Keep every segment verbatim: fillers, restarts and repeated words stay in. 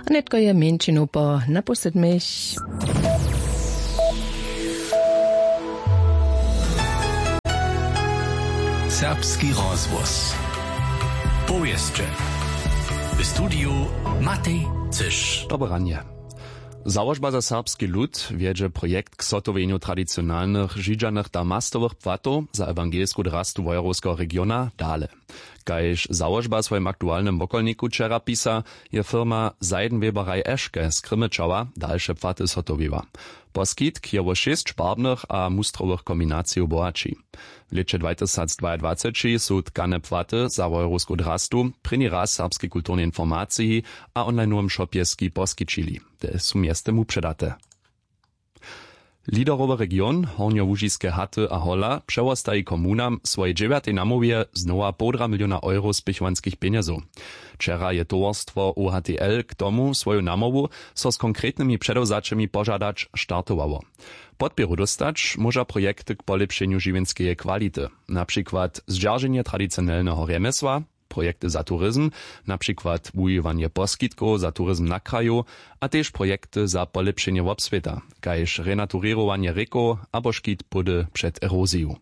A nětko je mjeńšinu po napoł sydmich. Serbski rozhłos. Powěsće. W studiju Matej Cyš. Dobre ranje. Załožba za serbski lud wjedźe projekt k zhotowjenju tradicionalnych židźanych damastowych płatow za ewangelsku drastu wojerowskeho regiona dale. Kaž załožba w swojim aktualnym wokolniku wčera pisa, je firma Seidenweberei Eschke z Krymyčała dalše płaty zhotowiła. Poskitk je wo šěsć barbnych a mustrowych kombinacijow bohaći. W lěće dwatysacdwaadwaceći su tkane płaty za wojerowsku drastu prěni raz w serbskej kulturnej informaciji a onlinowym shopje ski poskićili, te su mjeztym wupředate. Liderowy region hornjołužiske haty a hola přewostaji komunam w swojej dźewjatej namołwje znowa połdra miliona euro spěchowanskich pjenjezow. Wčera je towarstwo U H T L k tomu swoju namołwu, so z konkretnymi předewzaćemi požadać, startowało. Podpěru dóstać móža projekty k polěpšenju žiwjenskeje kwality, na přikład zdźerženje tradicionelneho rjemjesła, projekty za turizm, na přikład wuwiwanje poskitkow za turizm na kraju, a tež projekty za polěpšenje wobswěta, kaž renaturěrowanje rěkow abo škit pódy před eroziju.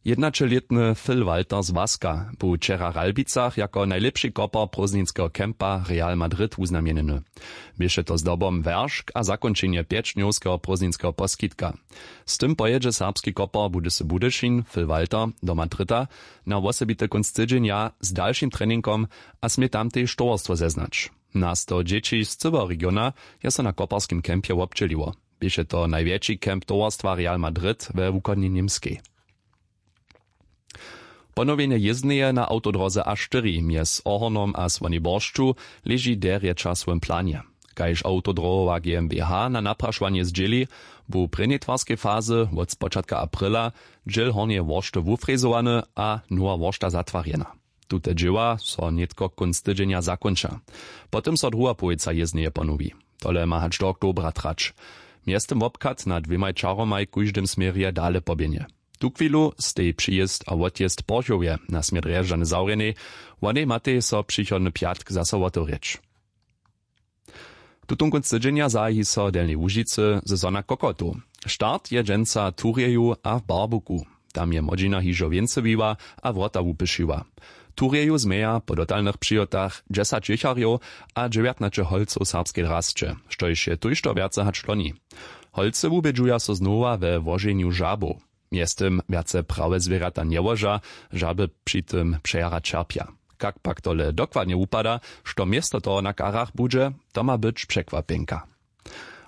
Jednaćelětny Phil Walter z Waska bu wčera w Ralbicach jako najlěpši kopar prózdninskeho kempa Real Madrid wuznamjenjeny. Běše to zdobom wjeršk a zakónčenje pjećdnjowskeho prózdninskeho poskitka. Z tym pojědźe serbski kopar Budysy Budyšin Phil Walter do Madrida na wosebity kónc tydźenja z dalšim treningom a smě tam tež towarstwo zeznać. Na sto dźěći z cyłeho regiona je so na koparskim kempje wobdźěliło. Běše to najwjetši kemp towarstwa Real Madrid we wuchodnej Němskej. Ponowjenje jězbneje na awtodróze A štyri mjez Ohornom a Słonej Boršću leži derje w časowym planje. Kaž awtodróhowa G M B H na naprašowanje zdźěli, bu w prěnjej twarskej fazy wot spočatka aprila dźěl hornjeje woršty wufrezowany a nowa woršta zatwarjena. Tute dźěła so nětko kónc tydźenja zakónča. Potom so druha połojca jězbneje ponowi. Tole ma hač do oktobra trać. Mjeztym wobchad na dwěmaj čaromaj w kóždym směrje dale poběhnje. Tuchwilu stej přijězd a wotjězd w Porchowje na směr Drježdźany zawrjenej. Wonej matej so přichodny pjatk zaso wotewrěć. Tutón kónc tydźenja zahaji so w Delnjej Łužicy sezona kokotow. Start je dźensa w Turjeju a w Barbuku. Tam je młodźina hižo wěncowiła a wrota wupyšiła. W Turjeju změja po dotalnych přihotach dźesać jěcharjow a dźewjatnaće holcow serbskej drasće, štož je tójšto wjace hač loni. Holcy wubědźuja so znowa we łoženju žabow. Mjeztym wjace prawe zwěrjata njełoža, žaby při tym přejara ćerpja. Kak pak tole dokładnje wupada, što město toho na karach budźe, to ma być překwapjenka.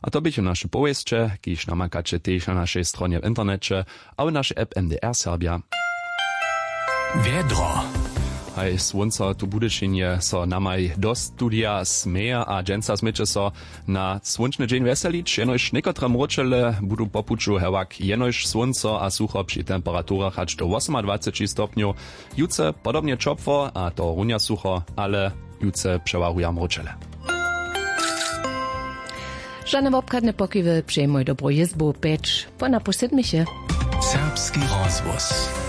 A to běchu naše powěsće, kiž namakaće tež na našej stronje w interneće a w našej app M D R Serbja. Wjedro. Haj, słónco tu w Budyšinje so namaj do studija směje a dźensa směće so na słónčny dźeń wjeselić, jenož někotre mróčele budu po puću hewak jenož słónco a sucho při temperaturach hač do wosomadwaceći stopnjow. Jutře podobnje ćopło a tohorunja sucho, ale jutře přewahuja mróčele. Žane wobchadne pokiwy, přejmoj dobru jězbu, pjeć po napušćedmiche. Serbski rozhłos.